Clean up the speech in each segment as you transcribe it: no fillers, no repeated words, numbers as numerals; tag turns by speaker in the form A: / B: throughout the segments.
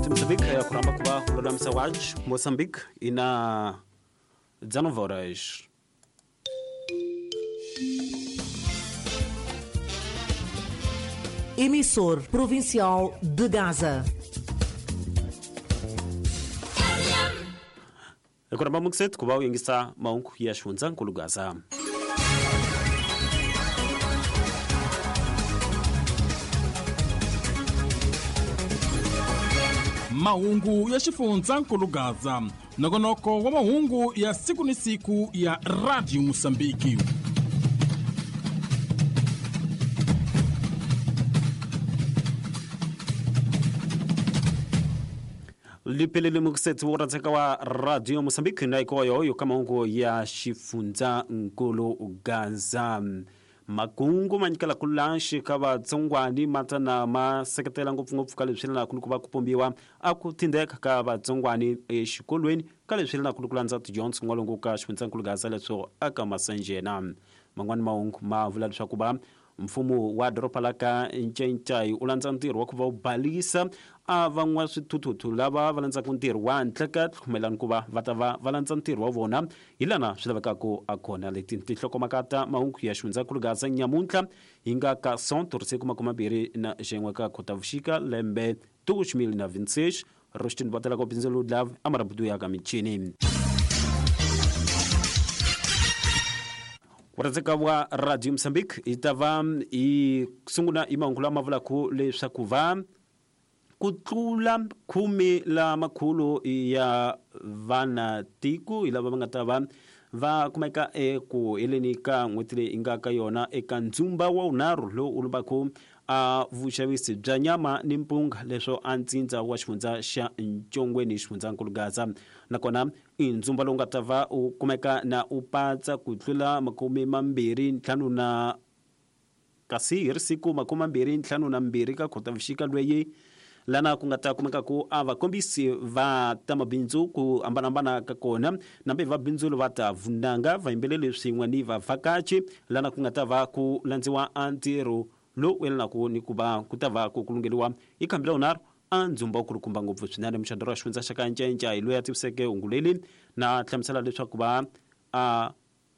A: Radio Moçambique ya kuramba kuva lulamisa waj Moçambique ina 19 horas.
B: Emissor Provincial de Gaza.
A: Kuramba mukset kuva uyingisa maungu ya xifundza nkulu Gaza.
C: Mahungu ya xifundza nkulu Gaza, nongonoko wa mahungu ya siku ni siku ya Radio Mosambiki.
A: Lipelele muksetsi wo rhandzeka wa Radio Mosambiki na ikoyo yo ka mahungu ya xifundza nkulu Gaza. Makungu ma nyikela ku lanxi ka vatsongwani ma ta na ma seketela ngopfungopfu ka leswi yelanaku ni ku va ku pombiwa a ku tindeka ka vatsongwani exikolweni ka leswi yelanaku ni ku landza tidyondzo n'walungu ka xifundzankulu Gaza leswo aka Masanjena. Man'wani mahungu ma vula leswaku va mfumo wa doroba la ka Ncencai u landza ntirho wa ku va u balisa a van'wa swithuthuthu lava va landzaka ntirho wa ntleketlo mayelana ku va va ta va va landza ntirho wa vona hi lana swi lavekaka a kona. Leti tinhlokomhaka ta mahungu ya xifundzankulu Gaza nyamuntlha hi nga ka 121 ka Khotavuxika lembe 2026 Rostin vatela ko bindzelo love amarabudu ya ka michini. Kurhandzeka wa Radio Mozambique yi ta va yi sungula hi mahungu lama vulaka leswaku va ku tlula 10 la makhulu ya vana tiko hi lava va nga ta va va kumeka eku heleni ka n'hweti leyi nga ka yona eka ndzumba wa vunharhu lowu u lombaka a vuxavisi bya nyama ni mpunga leswo a ntsindza wa xifundza xa Ntshongweni xifundzankulu Gaza. Nakona i ndzumba lowu nga ta va u kumeka na u patsa ku tlula 25 na kasi hi ri siku 25 ka Khotavuxika lweyi lana ku nga ta kumeka ku a vakombisi va ta mabindzu ku hambanahambana ka kona nambe va bindzu va ta vunanga vayimbeleri swin'we ni vavhakachi lana ku nga ta va ku landziwa a ntirho lowu yelanaka ni ku va ku ta va ku kulungeliwa hi khambi la vunharhu a ndzumba wu kulukumba ngopfu swinene. Muxandoro wa xifundza xa ka Ncencai loyi a tiviseke hungu leri na hlamusela leswaku va a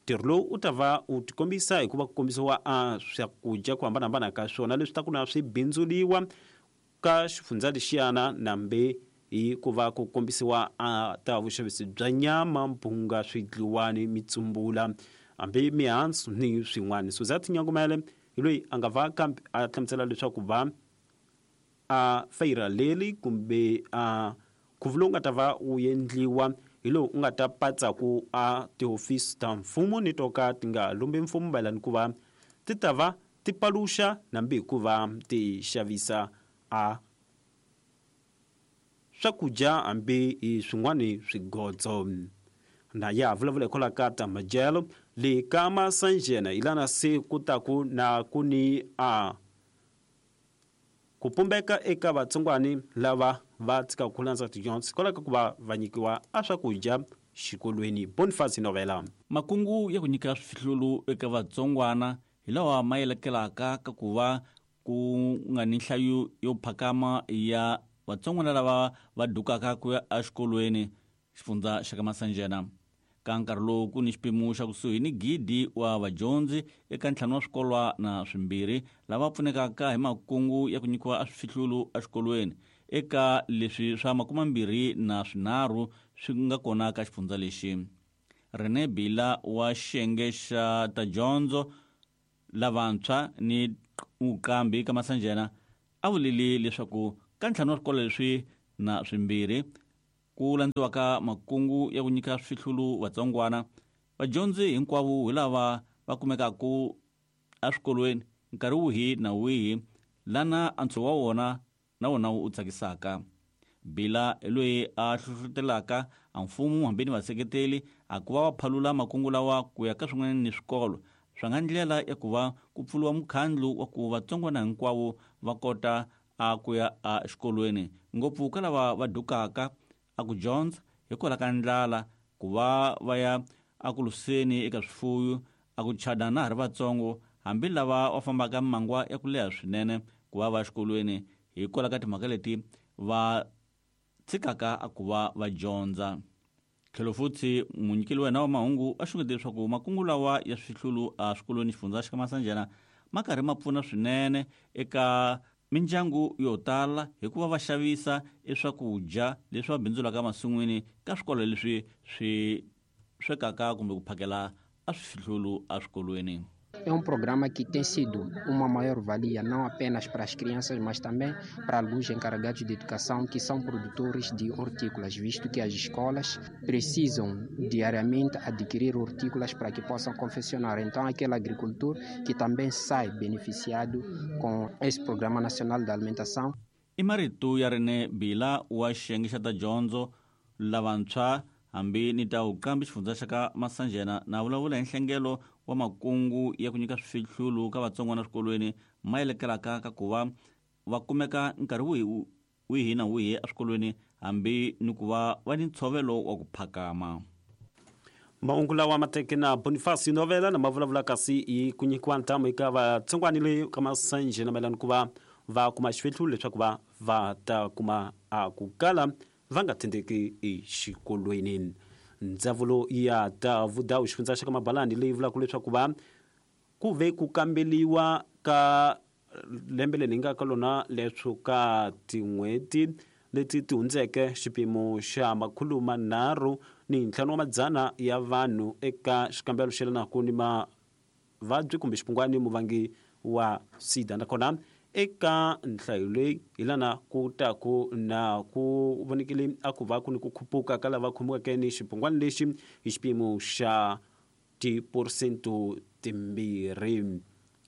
A: ntirho lowu u ta va u tikombisa hikuva ku kombisiwa a swakudya ku hambanahambana ka swona leswi ta ku na swi bindzuliwa ka xifundza lexiyana nambe hi ku va ku kombisiwa a ta vuxavisi bya nyama, mpunga, swidliwani, mitsumbula hambi mihandzu ni swin'wana. Suzette Nyangumele hi loyi a nga va kambe a hlamusela leswaku va a feyira leri kumbe a nkhuvo lowu nga ta va wu endliwa hi lowu u nga ta patsaku a tihofisi ta mfumo ni to ka ti nga lumbi mfumo mayelana ku va ti ta va ti paluxa nambi hikuva ti xavisa a swakudya hambi hi swin'wani swigodzo. Na ya vulavula hikwalaho ka ta madyelo le ka Masanjena hi lana se ku taku na ku ni a ku pumbeka eka vatsongwani lava va tshikaka ku landza tidyondzo hikwalaho ka ku va va nyikiwa a swakudya xikolweni. Boniface Novela.
D: Makungu ya ku nyika swifihlulu eka vatsongwana hi lawa ma yelekelaka ka ku va ku nga ni nhlayo yo phakama ya vatsongwana lava va dukaka ku ya exikolweni xifundza xa ka Masanjena. Ka nkarhi lowu ku ni xipimo xa kusuhi ni 1,000 wa vadyondzi eka 5 wa swikolwana swimbirhi lava pfunekaka hi makungu ya ku nyikiwa a swifihlulu exikolweni eka leswi swa 23 swi nga kona ka xifundza lexi. Rene Bila wa xiyenge xa ta dyondzo lavantshwa ni vuqambi ka Masanjena a vulile leswaku ka 5 wa swikolo leswi na swimbirhi ku landziwaka makungu ya ku nyika swifihlulu vatsongwana, vadyondzi hinkwavo hi lava va kumekaka eswikolweni nkarhi wihi na wihi lana antswo wa wona na wona wu tsakisaka. Bila hi loyi a hlohlotelaka a mfumo hambi ni vaseketeli a ku va va phalula makungu lawa ku ya ka swin'wana ni swikolo swa nga ndlela ya ku va ku pfuriwa mukhandlu wa ku vatsongwana hinkwavo va kota a ku ya exikolweni, ngopfu ka lava va dukaka a ku dyondza hikwalaho ka ndlala, ku va va ya eku luseni eka swifuyo, a ku chada na ha ri vatsongo, hambi lava va fambaka mimangwa ya ku leha swinene ku va va exikolweni hikwalaho ka timhaka leti va tshikaka a ku va va dyondza. Tlhelo futhi munyikeli wa hina wa mahungu a xungete leswaku makungu lawa ya swihlulu eswikolweni xifundza xa Masanjana ma karhi ma pfuna swinene eka mindyangu yo tala hikuva va xavisa eswakudya leswi va bindzulaka emasin'wini ka swikolo leswi swi swekaka kumbe ku phakela a swihlulu eswikolweni.
E: É um programa que tem sido uma maior valia não apenas para as crianças, mas também para alguns encarregados de educação que são produtores de hortícolas, visto que as escolas precisam diariamente adquirir hortícolas para que possam confeccionar. Então, aquele agricultor que também sai beneficiado com esse Programa Nacional de Alimentação.
D: I marito ya Rene Bila wa xiyenge xa ta dyondzo lavantshwa hambi ni ta vuqambi xifundza xa ka Masanjena na vulavula hi nhlengelo wa makungu ya ku nyika swihlulu ka vatsongwana eswikolweni ma yelekelaka ka ku va va kumeka nkarhi wihi na wihi eswikolweni hambi ni ku va va ni ntshovelo wa ku phakama.
A: Mahungu lawa ma teke na Boniface Novela na ma vulavula kasi hi ku nyikiwa ntamu eka vatsongwana le ka Masanjena mayelana ku va va kuma xifihlulu leswaku va va ta kuma a ku kala va nga tindeki exikolweni. Ndzawulo ya ta vudawu xifundza xa ka Mabalani leyi vulaka leswaku va ku ve ku kambeliwa ka lembe leri hi nga ka lona leswo ka tin'hweti leti ti hundzeke xipimo xa 335 ya vanhu eka xikambelo xi yelanaka ni mavabyi kumbe xipungwani muvangi wa SIDA. Nakona eka nhlayo leyi hi lana ku ta ku na ku vonekile a ku va ku ni ku khupuka ka lava khomiweke ni xipungwani lexi hi xipimo xa 2%.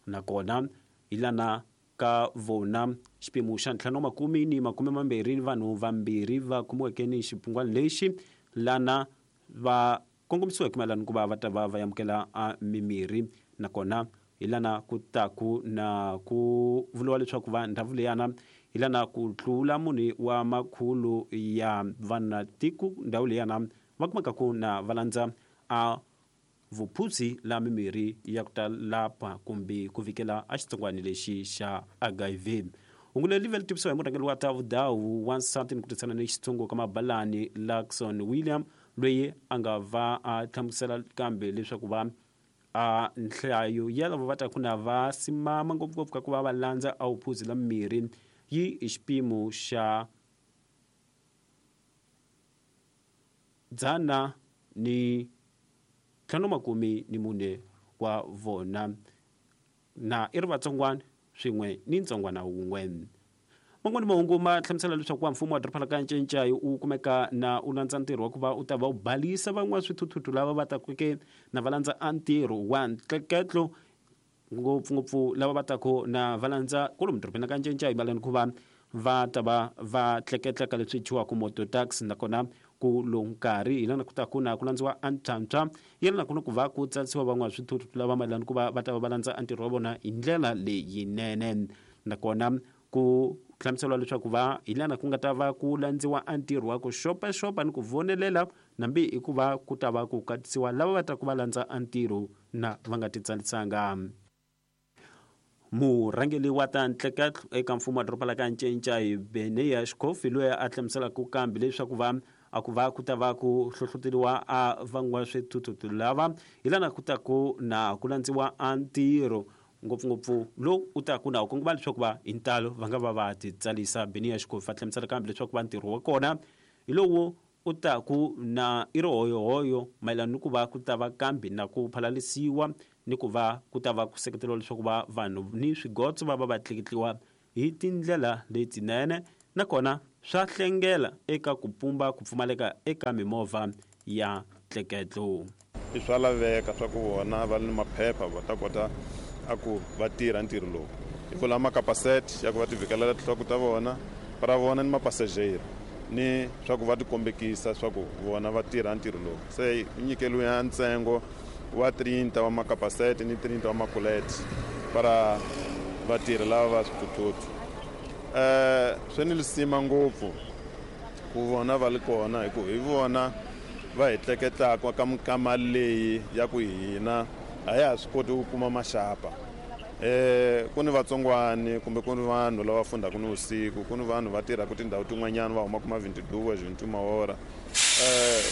A: Nakona hi lana ka vona xipimo xa 520 vanhu vambirhi va khomiweke ni xipungwani lexi lana va kongomisiweke mayelana ku va va ta va va amukela a mimirhi. Nakona hi lana ku ta ku na ku vuriwa leswaku va ndhawu leyana hi lana ku tlula munhu wa makhulu ya vana tiko ndhawu leyana va kumeka ku na va landza a vuphuzi la mimirhi ya ku ta lapa kumbe ku vikela a xitsongwani lexi xa HIV. Hungu leri li tivisiwa hi murhangeri wa ta vudawu wansati ni ku tirhisana ni xitsongo ka Mabalani Luxon William loyi a nga va a hlamusela kambe leswaku va a nhlayo ya lava va ta ku na va simama ngopfungopfu ka ku va va landza a vuphuzi la mimirhi yi hi xipimo xa 154 wa vona na i ri vatsongwana swin'we ni ntsongwana wun'we. Man'wani mahungu ma hlamusela leswaku wa mfumo wa doroba la ka Ncencai u kumeka na u landza ntirho wa ku va u ta va u balisa van'wana swithuthuthu lava va takeke na va landza a ntirho wa ntleketlo ngopfungopfu lava va taku na va landza kwalomu dorobeni ka Ncencai mayelana ku va va ta va va tleketleka leswi thyiwaka moto taxi. Nakona ku lowu nkarhi hi lana ku ta ku na ku landziwa a ntlhantlha yelana ku na ku va ku tsarisiwa van'wana swithuthuthu lava mayelana ku va va ta va va landza a ntirho wa vona hi ndlela leyinene. Nakona ku hlamuseriwa leswaku va hi lana ku nga ta va ku landziwa a ntirho wa ku xopaxopa ni ku vonelela nambi i ku va ku ta va ku katisiwa lava va ta ku va landza a ntirho na va nga titsarisanga. Murhangeri wa ta ntleketlo eka mfumo wa doroba la ka Ncencai Beneya Xikofi loyi a hlamuselaka kambe leswaku va a ku va ku ta va ku hlohloteriwa a van'wa swithuthuthu lava hi lana ku ta ku na ku landziwa a ntirho ngopfungopfu lowu u ta ku na u kongoma leswaku va hi ntalo va nga va va titsalisa. Beneya Xikofi a hlamusela kambe leswaku va ntirho wa kona hi lowu u ta ku na i ri hoyohoyo mayelana ni ku va ku ta va kambe na ku phalalisiwa ni ku va ku ta va ku seketeriwa leswaku va vanhu ni swigotso va va va tleketliwa hi tindlela letinene. Nakona swa hlengela eka ku pumba ku pfumaleka eka mimovha ya ntleketlo.
F: I swa laveka swa ku vona va ni maphepha va ta kota a ku va tirha ntirho lowu. Hi vula makapasete ya ku va ti vhikelela tinhloko ta vona ra vona ni mapasajeri ni swa ku va ti kombekisa swa ku vona va tirha ntirho lowu. Se nyikelo ya ntsengo wa 30 wa makapasete ni 30 wa makulete para vatirhi lava va swithuthuthu. Swi ni lisima ngopfu ku vona va li kona hi ku hi vona va hi tleketlaka ka mikama leyi ya ku hina a ya ha swi koti ku kuma maxapa. Ku ni vatsongwani kumbe ku ni vanhu lava fundaka ni vusiku, ku ni vanhu va tirhaka tindhawu tin'wanyana va humaka ma 22 21 hora,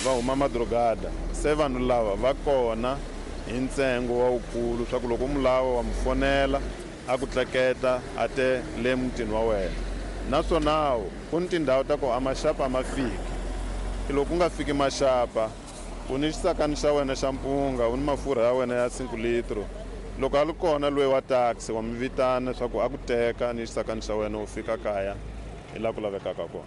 F: va huma madrogada. Se vanhu lava va kona hi ntsengo wa wukulu swa ku loko u mu lava wa mu fonela a ku tleketa a te le mutini wa wena. Naswona ku ni tindhawu ta ku a maxapa a ma fiki, loko ku nga fiki maxapa u ni xisakani xa wena xa mpunga, u ni mafurha ya wena ya 5 litro. Loko a li kona loyi wa taxi wa mi vitana leswaku a ku teka ni xisakani xa wena u fika kaya hi laha ku lavekaka kona.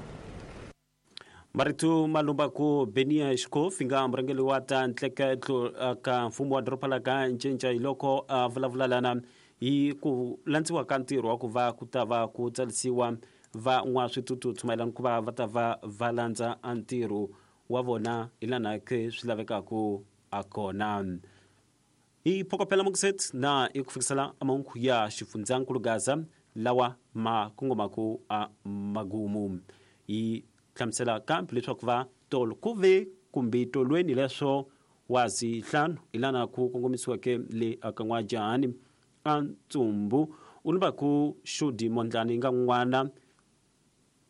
A: Marito malumbaku Benia Xikofi nga murhangeri wa ta ntleketlo ka mfumo wa doroba la ka Ncinca hi loko a vulavula lana hi ku landziwa ka ntirho wa ku va ku ta va ku tsarisiwa van'waswithuthuthu mayelana ku va va ta va va landza a ntirho wa vona hi lana ke swi lavekaka a kona. Hi phokopela mukuset na hi ku fikisela mahungu ya xifundzankulu Gaza lawa ma kongomaku a magumu. Hi hlamusela kambe leswaku va tolo ku ve kumbe tolweni leswo wa zihlanu hi lana ku kongomisiweke le aka N'wajahani a ntsumbu u ni ku Xudi Mondlani nga n'wana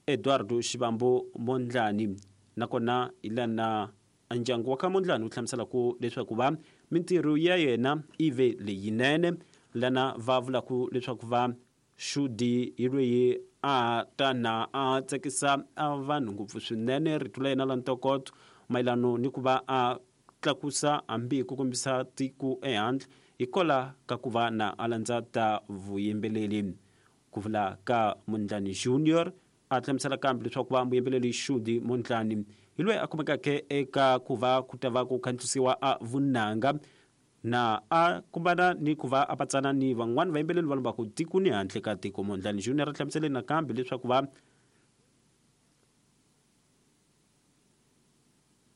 A: Eduardo Xivambo Mondlani, nakona hi lana ndyangu wa ka Mondlani wu hlamusela ku leswaku va mintirho ya yena i ve leyinene, lana va vulaka leswaku va Xudi hi loyi a ta na a tsakisa a vanhu ngopfu swinene rito la yena la ntokoto mayelano ni ku va a tlakusa hambi ku kombisa tiko ehandle hikola ka ku va na a landza ta vuyimbeleri. Ku vula ka Mondlani Junior a hlamusela kambe leswaku va muyimbeleri Xudi Mondlani hi loyi a kumekaka eka ku va ku ta va ku khandziyisiwa a vunanga na a kumbana ni ku va a patsana ni van'wani vayimbeleri va lombaka tiko ni handle ka tiko. Mondlani Junior a hlamusele nakambe leswaku va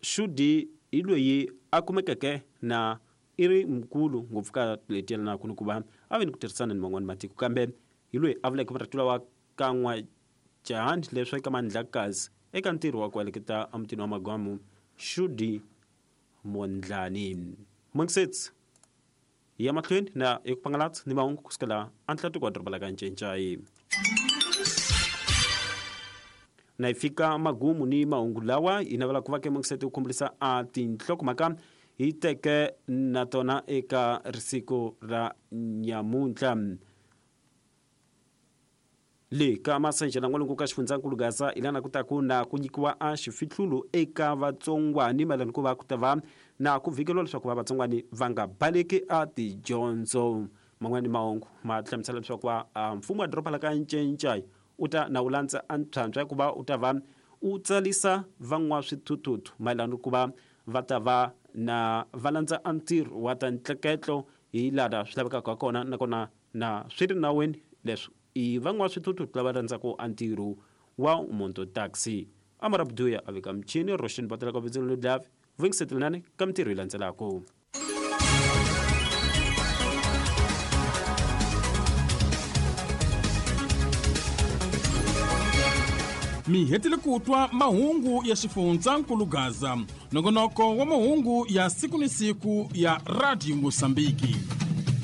A: Xudi hi loyi a kumekeke na i ri mukulu ngopfu ka leti yelanaka ni ku va a ve ni ku tirhisana ni van'wani matiko, kambe hi loyi a vuleke marito lawa ka N'wajahani leswi eka Mandlakazi eka ntirho wa ku heleketa emutini wa Magwamu Xudi Mondlani. Mungisets ya mahlweni na hi ku pangalatsa ni mahungu kusukela Atlantic wa doroba la ka Ncencai. Na hi fika magumu ni mahungu lawa hi navela ku va ke Mungiseti u khumbulisa a tinhlokomhaka hi teke na tona eka risiku ra nyamuntlha. Le ka Masanjela n'walungu ka xifundzankulu Gaza hi lana ku ta ku na ku nyikiwa a xifihlulo eka vatsongwani mayelana ku va ku ta va na ku vhikeriwa leswaku va vatsongwani va nga baleki a tidyondzo. Man'wani mahungu ma hlamusela leswaku va mfumo wa doroba la ka Ncencai u ta na wu landza a ntlhantlha ya ku va u ta va u tsarisa van'waswithuthuthu mayelana ku va va ta va na va landza a ntirho wa ta ntleketlo hi laha swi lavekaka ha kona, nakona na swi ri nawini leswi i van'waswithuthuthu lava landzaka a ntirho wa monto taxi. Amara Buduya a veka michini Roshan Batela ka vitselo ledlavi vuyingisetelani ka mintirho yi landzelaka.
C: Mi hetile ku twa mahungu ya xifundzankulu Gaza, nongonoko wa mahungu ya siku ni siku ya Radio Mosambiki.